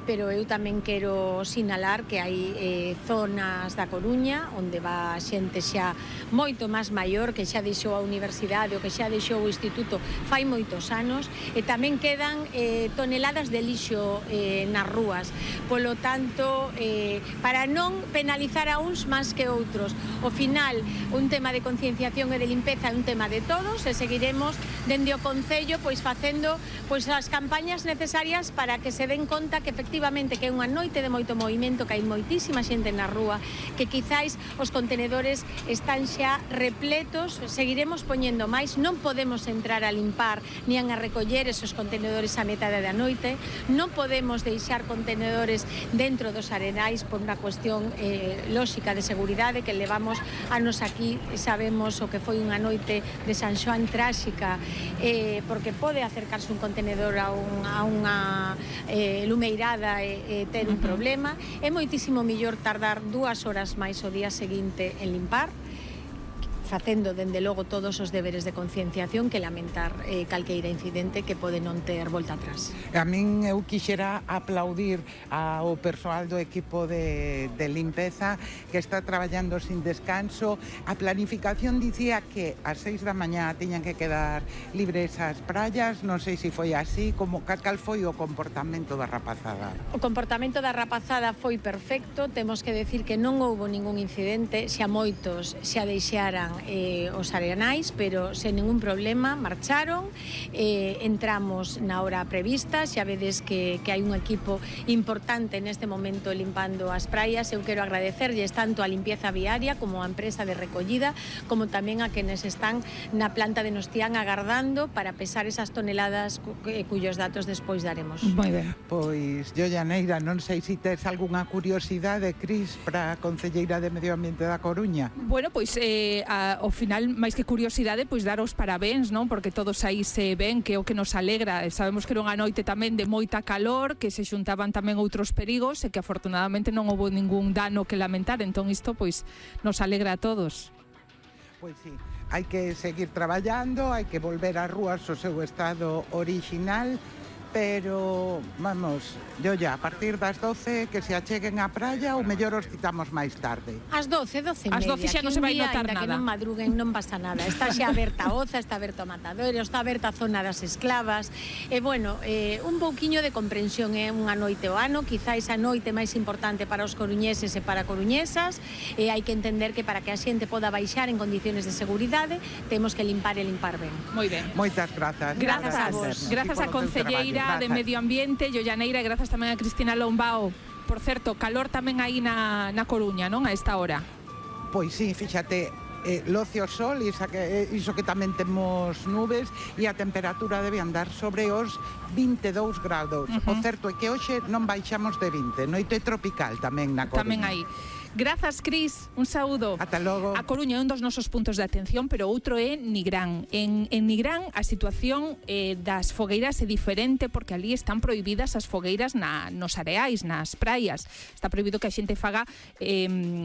pero eu tamén quero sinalar que hai zonas da Coruña onde va xente xa moito máis maior, que xa deixou a universidade ou que xa deixou o instituto fai moitos anos, e tamén quedan toneladas de lixo nas rúas. Polo tanto, para non penalizar a uns máis que outros, ao final un tema de concienciación e de limpeza é un tema de todos, e seguiremos dende o Concello facendo as campañas necesarias para que se den conta que efectivamente que é unha noite de moito movimento, que hai moitísima xente na rúa, que quizáis os contenedores están xa repletos. Seguiremos poñendo máis, non podemos entrar a limpar nin a recoller esos contenedores a metade da noite, non podemos deixar contenedores dentro dos arenais por unha cuestión lóxica de seguridade, que levamos anos aquí, sabemos o que foi unha noite de San Xoán tráxica, porque pode acercarse un contenedor a unha lumeirada e ter un problema. É moitísimo mellor tardar 2 horas máis o día seguinte en limpar, facendo, dende logo, todos os deberes de concienciación, que lamentar calqueira incidente que pode non ter volta atrás. A min eu quixera aplaudir ao persoal do equipo de limpeza que está traballando sin descanso. A planificación dicía que ás 6 da mañá tiñan que quedar libres as praias, non sei se foi así, cal foi o comportamento da rapazada? O comportamento da rapazada foi perfecto, temos que decir que non houbo ningún incidente, xa moitos xa deixaran os arenais, pero sen ningún problema marcharon, entramos na hora prevista, xa vedes que hai un equipo importante neste momento limpando as praias. Eu quero agradecerlles tanto a Limpieza Viaria como a empresa de recollida, como tamén a quenes están na planta de Nostián agardando para pesar esas toneladas cuyos datos despois daremos. Moi ben. Pois, Llaneira, non sei se tes algunha curiosidade, Cris, para a Concelleira de Medio Ambiente da Coruña. Bueno, pois ao final, máis que curiosidade, pois dar os parabéns, non? Porque todos aí se ven, que é o que nos alegra. Sabemos que era unha noite tamén de moita calor, que se xuntaban tamén outros perigos e que afortunadamente non houbo ningún dano que lamentar, entón isto pois nos alegra a todos. Pois sí, hai que seguir traballando, hai que volver ás rúas ao seu estado orixinal, pero, vamos, a partir das 12 que se acheguen á praia, ou mellor os citamos máis tarde. Ás 12 e media. Ás 12 xa non se vai notar nada. Que non madruguen non pasa nada. Está xa aberta a Oza, está aberto o Matadoiro, está aberta a zona das esclavas. E, bueno, un pouquiño de comprensión, é unha noite ao ano, quizáis a noite máis importante para os coruñeses e para coruñesas, e hai que entender que para que a xente poda baixar en condiciones de seguridade, temos que limpar e limpar ben. Moi ben. Moitas grazas. Grazas a vos. Grazas a Concelleira de Medio Ambiente, Llaneira, e grazas tamén a Cristina Lombao. Por certo, calor tamén aí na Coruña, non? A esta hora. Pois sí, fíxate, loce o sol, iso que tamén temos nubes, e a temperatura debe andar sobre os 22 grados. O certo é que hoxe non baixamos de 20, noite tropical tamén na Coruña. Tamén aí. Grazas, Cris, un saúdo. Ata logo. A Coruña é un dos nosos puntos de atención, pero outro é Nigrán. En Nigrán a situación das fogueiras é diferente, porque ali están prohibidas as fogueiras nos areais, nas praias. Está prohibido que a xente faga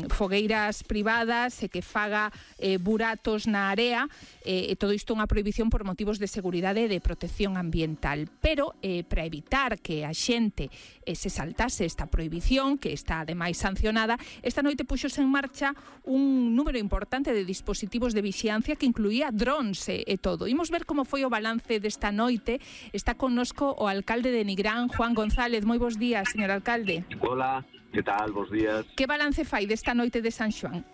fogueiras privadas e que faga buratos na area, e todo isto é unha prohibición por motivos de seguridade e de protección ambiental. Pero para evitar que a xente se saltase esta prohibición, que está ademais sancionada, esta noite puxose en marcha un número importante de dispositivos de vixiancia que incluía drones e todo. Imos ver como foi o balance desta noite. Está connosco o alcalde de Nigrán, Juan González. Moi bons días, señor alcalde. Hola, que tal? Bos días. Que balance fai desta noite de San Xoán?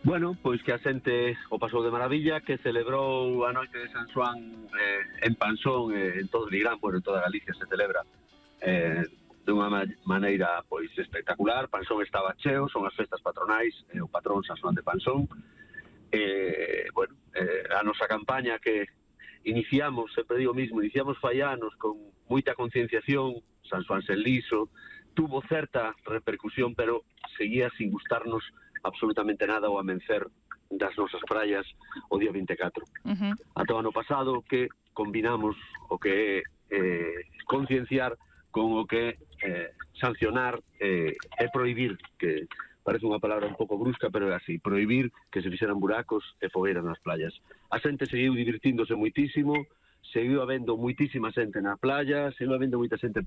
Bueno, pois que a xente o pasou de maravilla, que celebrou a noite de San Xoán en Pansón, en todo Nigrán, bueno, en toda Galicia se celebra dunha maneira pois espectacular. Pansón estaba cheo, son as festas patronais, o patrón San Xoán de Pansón. Bueno, a nosa campaña que iniciamos, sempre digo mismo, iniciamos fai anos con moita concienciación, San Xoán sen liso, tuvo certa repercusión, pero seguía sin gustarnos absolutamente nada o amencer das nosas praias o día 24. Ata o ano pasado que combinamos o que é concienciar con o que sancionar e prohibir, que parece unha palabra un pouco brusca, pero é así, prohibir que se fixeran buracos e fogueiras nas playas. A xente seguiu divirtíndose moitísimo, seguiu habendo moitísima xente na playa, seguiu habendo moita xente